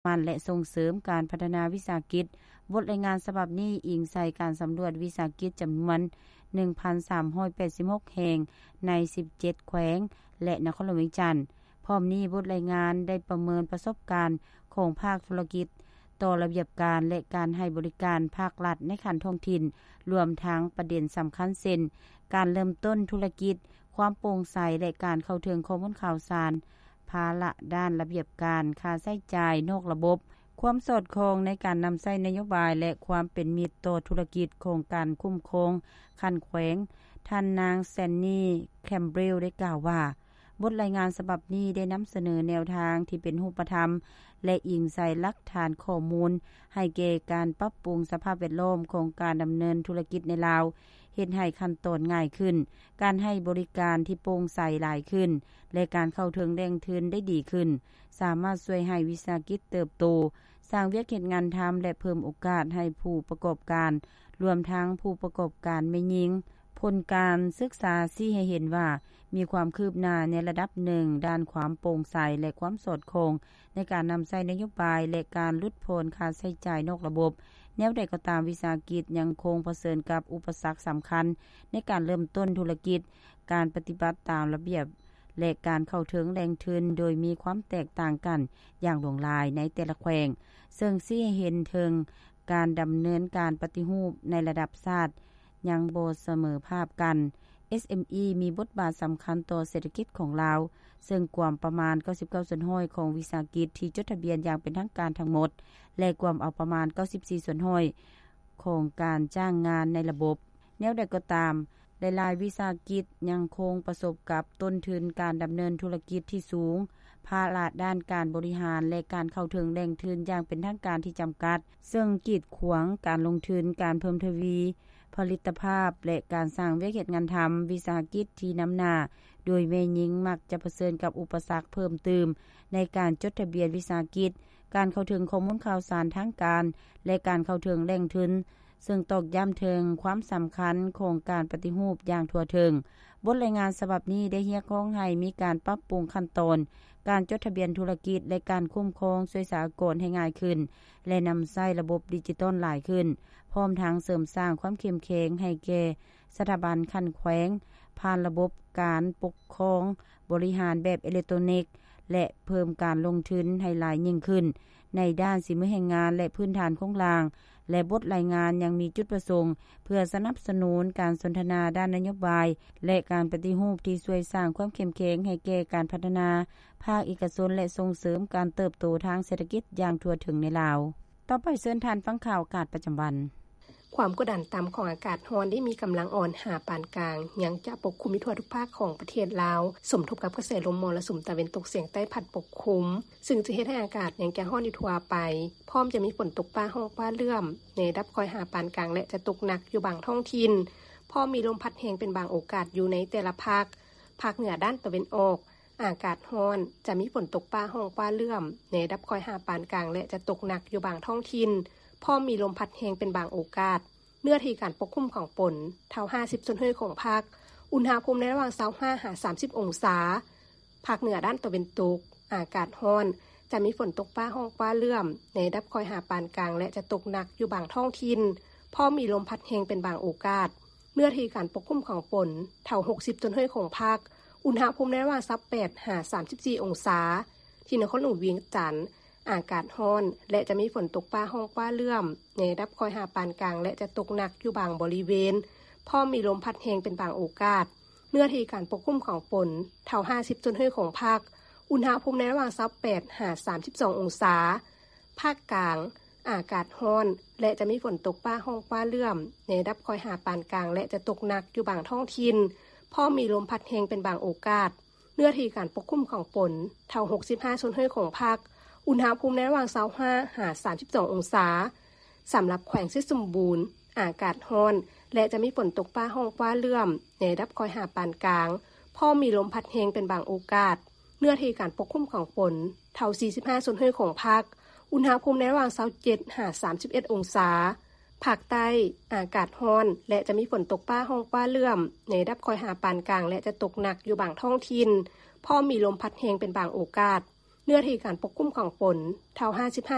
ໝັ້ນ ແລະ ສົ່ງເສີມການພັດທະນາວິສາຫະກິດ. ບົດລາຍງານສະບັບນີ້ອີງໃສ່ການສຳຫຼວດວິສາຫະກິດຈຳນວນ ໜຶ່ງພັນສາມຮ້ອຍແປດສິບຫົກ ແຫ່ງ ໃນ ສິບເຈັດ ແຂວງ ແລະ ນະຄອນຫຼວງວຽງຈັນ. ພ້ອມນີ້, ບົດລາຍງານໄດ້ປະເມີນປະສົບການຂອງພາກທຸລະກິດຕໍ່ລະບຽບການ ແລະ ການໃຫ້ບໍລິການພາກລັດໃນຂັ້ນທ້ອງຖິ່ນ, ລວມທັງປະເດັນສຳຄັນເຊັ່ນ ການເລີ່ມຕົ້ນທຸລະກິດ, ຄວາມໂປ່ງໃສ ແລະ ການເຂົ້າເຖິງຂໍ້ມູນຂ່າວສານ, ພາລະດ້ານລະບຽບການ, ຄ່າໃຊ້ຈ່າຍນອກລະບົບ, ຄວາມສອດຄ່ອງໃນການນຳໃຊ້ນະໂຍບາຍ ແລະ ຄວາມເປັນມິດຕໍ່ທຸລະກິດຂອງການຄຸ້ມຄອງຂັ້ນແຂວງ. ທ່ານນາງ ແຊນນີ ແຄມເບຣວ ໄດ້ກ່າວວ່າ, ບົດລາຍງານສະບັບນີ້ໄດ້ນຳສະເໜີແນວທາງທີ່ເປັນຮູບປະທຳ ແລະ ອີງໃສ່ຫຼັກຖານຂໍ້ມູນ ໃຫ້ແກ່ການປັບປຸງສະພາບແວດລ້ອມຂອງການດຳເນີນທຸລະກິດໃນລາວ, ເຮັດໃຫ້ຂັ້ນຕອນງ່າຍຂຶ້ນ, ການໃຫ້ບໍລິການທີ່ໂປ່ງໃສຫຼາຍຂຶ້ນ ແລະ ການເຂົ້າເຖິງແຫຼ່ງທຶນໄດ້ດີຂຶ້ນ, ສາມາດຊ່ວຍໃຫ້ວິສາຫະກິດເຕີບໂຕ, ສ້າງວຽກເຮັດງານທຳ ແລະ ເພີ່ມໂອກາດໃຫ້ຜູ້ປະກອບການ, ລວມທັງຜູ້ປະກອບການແມ່ຍິງ. ຜົນການສຶກສາຊີ້ໃຫ້ເຫັນວ່າ ມີຄວາມຄືບໜ້າໃນລະດັບໜຶ່ງດ້ານຄວາມໂປ່ງໃສ ແລະ ຄວາມສອດຄ່ອງໃນການນຳໃຊ້ນະໂຍບາຍ ແລະ ການຫຼຸດຜ່ອນຄ່າໃຊ້ຈ່າຍນອກລະບົບ. ແນວໃດກໍຕາມ, ວິສາຫະກິດຍັງຄົງປະເຊີນກັບອຸປະສັກສຳຄັນໃນການເລີ່ມຕົ້ນທຸລະກິດ, ການປະຕິບັດຕາມລະບຽບ ແລະ ການເຂົ້າເຖິງແຫຼ່ງທຶນ ໂດຍມີຄວາມແຕກຕ່າງກັນຢ່າງຫຼວງຫຼາຍໃນແຕ່ລະແຂວງ, ເຊິ່ງຊີ້ໃຫ້ເຫັນເຖິງການດຳເນີນການປະຕິຮູບໃນລະດັບຊາດຍັງບໍ່ສະເໝີພາບກັນ. ເອສເອັມອີ ມີບົດບາດສຳຄັນຕໍ່ເສດຖະກິດຂອງລາວ, ເຊິ່ງກວມປະມານ ເກົ້າສິບເກົ້າສ່ວນຮ້ອຍ ຂອງວິສາຫະກິດທີ່ຈົດທະບຽນຢ່າງເປັນທາງການທັງໝົດ ແລະ ກວມເອົາປະມານ ເກົ້າສິບສີ່ສ່ວນຮ້ອຍ ຂອງການຈ້າງງານໃນລະບົບ. ແນວໃດກໍຕາມ, ຫຼາຍໆວິສາຫະກິດຍັງຄົງປະສົບກັບຕົ້ນທຶນການດຳເນີນທຸລະກິດທີ່ສູງ, ພາລະດ້ານການບໍລິຫານ ແລະ ການເຂົ້າເຖິງແຫຼ່ງທຶນຢ່າງເປັນທາງການທີ່ຈຳກັດ, ເຊິ່ງກີດຂວາງການລົງທຶນ, ການເພີ່ມທະວີຜະລິດຕະພາບ ແລະ ການສ້າງວຽກເຮັດງານທຳ. ວິສາຫະກິດທີ່ນຳໜ້າ ໂດຍແມ່ຍິງມັກຈະປະເຊີນກັບອຸປະສັກເພີ່ມຕື່ມໃນການຈົດທະບຽນວິສາຫະກິດ, ການເຂົ້າເຖິງຂໍ້ມູນຂ່າວສານທາງການ ແລະ ການເຂົ້າເຖິງແຫຼ່ງທຶນ, ເຊິ່ງຕອກຢ້ຳເຖິງຄວາມສຳຄັນຂອງການປະຕິຮູບຢ່າງທົ່ວເຖິງ. ບົດລາຍງານສະບັບນີ້ໄດ້ຮຽກຮ້ອງໃຫ້ມີການປັບປຸງຂັ້ນຕອນການຈົດທະບຽນທຸລະກິດ ແລະ ການຄຸ້ມຄອງຊ່ວຍສາອາກອນໃຫ້ງ່າຍຂຶ້ນ ແລະ ນຳໃຊ້ລະບົບດິຈິຕອນຫຼາຍຂຶ້ນ, ພ້ອມທັງເສີມສ້າງຄວາມເຂັ້ມແຂງໃຫ້ແກ່ສະຖາບັນຂັ້ນແຂວງ ຜ່ານລະບົບການປົກຄອງບໍລິຫານແບບເອເລັກໂຕຣນິກ ແລະ ເພີ່ມການລົງທຶນໃຫ້ຫຼາຍຍິ່ງຂຶ້ນໃນດ້ານສີມືແຮງງານ ແລະ ພື້ນຖານໂຄງລ່າງ. ແລະ ບົດລາຍງານຍັງມີຈຸດປະສົງເພື່ອສະໜັບສະໜູນການສົນທະນາດ້ານນະໂຍບາຍ ແລະ ການປະຕິຮູບທີ່ຊ່ວຍສ້າງຄວາມເຂັ້ມແຂງໃຫ້ແກ່ການພັດທະນາພາກເອກະຊົນ ແລະ ສົ່ງເສີມການເຕີບໂຕທາງເສດຖະກິດຢ່າງທົ່ວເຖິງໃນລາວ. ຕໍ່ໄປເຊີນທ່ານຟັງຂ່າວອາກາດປະຈຳວັນ. ຄວາມກົດດັນຕ່ຳຂອງອາກາດຮ້ອນທີ່ມີກຳລັງອ່ອນຫາປານກາງ ຍັງຈະປົກຄຸມຢູ່ທົ່ວທຸກພາກຂອງປະເທດລາວ, ສົມທົບກັບກະແສລົມມໍລະສຸມຕາເວັນຕົກສຽງໃຕ້ພັດປົກຄຸມ, ຊຶ່ງຈະເຮັດໃຫ້ອາກາດຍັງຈະຮ້ອນຢູ່ທົ່ວໄປ, ພ້ອມຈະມີຝົນຕົກຟ້າຮ້ອງຟ້າເຫຼື້ອມໃນລະດັບຄ່ອຍຫາປານກາງ ແລະ ຈະຕົກໜັກຢູ່ບາງທ້ອງຖິ່ນ, ພ້ອມມີລົມພັດແຮງເປັນບາງໂອກາດຢູ່ໃນແຕ່ລະພາກ. ພາກເໜືອດ້ານຕາເວັນອອກ, ອາກາດຮ້ອນ, ຈະມີຝົນຕົກຟ້າຮ້ອງຟ້າເຫຼື້ອມໃນລະດັບຄ່ອຍຫາປານກາງ ແລະ ຈະຕົກໜັກຢູ່ບາງທ້ອງຖິ່ນ, ພ້ອມມີລົມພັດແຮງເປັນບາງໂອກາດ. ເນື້ອທີ່ການປົກຄຸມຂອງຝົນ ເທົ່າຫ້າສິບສ່ວນຮ້ອຍຂອງພາກ, ອຸນຫະພູມໃນລະຫວ່າງຊາວຫ້າຫາສາມສິບອົງສາ. ພາກເໜືອດ້ານຕາເວັນຕົກ, ອາກາດຮ້ອນ, ຈະມີຝົນຕົກຟ້າຮ້ອງຟ້າເຫຼື້ອມໃນລະດັບຄ່ອຍຫາປານກາງ ແລະ ຈະຕົກໜັກຢູ່ບາງທ້ອງຖິ່ນ, ພ້ອມມີລົມພັດແຮງເປັນບາງໂອກາດ. ເນື້ອທີ່ການປົກຄຸມຂອງຝົນ ເທົ່າຫົກສິບສ່ວນຮ້ອຍຂອງພາກ, ອຸນຫະພູມໃນລະຫວ່າງຊາວແປດຫາສາມສິບສີ່ອົງສາ. ທີ່ນະຄອນຫຼວງວຽງຈັນ, ອາກາດຮ້ອນ ແລະ ຈະມີຝົນຕົກຟ້າຮ້ອງຟ້າເຫຼື້ອມໃນລະດັບຄ່ອຍຫາປານກາງ ແລະ ຈະຕົກໜັກຢູ່ບາງບໍລິເວນ, ພ້ອມມີລົມພັດແຮງເປັນບາງໂອກາດ. ເນື້ອທີ່ການປົກຄຸມຂອງຝົນ ເທົ່າຫ້າສິບສ່ວນຮ້ອຍຂອງພາກ, ອຸນຫະພູມໃນລະຫວ່າງຊາວແປດຫາສາມສິບສອງອົງສາ. ພາກກາງ, ອາກາດຮ້ອນ ແລະ ຈະມີຝົນຕົກຟ້າຮ້ອງຟ້າເຫຼື້ອມໃນລະດັບຄ່ອຍຫາປານກາງ ແລະ ຈະຕົກໜັກຢູ່ບາງທ້ອງຖິ່ນ, ພ້ອມມີລົມພັດແຮງເປັນບາງໂອກາດ. ເນື້ອທີ່ການປົກຄຸມຂອງຝົນ ເທົ່າຫົກສິບຫ້າສ່ວນຮ້ອຍຂອງພາກ, ອຸນຫະພູມໃນລະຫວ່າງຊາວຫ້າຫາສາມສິບສອງອົງສາ. ສຳລັບແຂວງໄຊສົມບູນ, ອາກາດຮ້ອນ ແລະ ຈະມີຝົນຕົກຟ້າຮ້ອງຟ້າເຫຼື້ອມໃນລະດັບຄ່ອຍຫາປານກາງ, ພ້ອມມີລົມພັດແຮງເປັນບາງໂອກາດ. ເນື້ອທີ່ການປົກຄຸມຂອງຝົນ ເທົ່າສີ່ສິບຫ້າສ່ວນຮ້ອຍຂອງພາກ, ອຸນຫະພູມໃນລະຫວ່າງຊາວເຈັດຫາສາມສິບເອັດອົງສາ. ພາກໃຕ້, ອາກາດຮ້ອນ ແລະ ຈະມີຝົນຕົກຟ້າຮ້ອງຟ້າເຫຼື້ອມໃນລະດັບຄ່ອຍຫາປານກາງ ແລະ ຈະຕົກໜັກຢູ່ບາງທ້ອງຖິ່ນ, ພ້ອມມີລົມພັດແຮງເປັນບາງໂອກາດ. ເນື້ອທີ່ການປົກຄຸມຂອງຝົນເທົ່າຫ້າສິບຫ້າ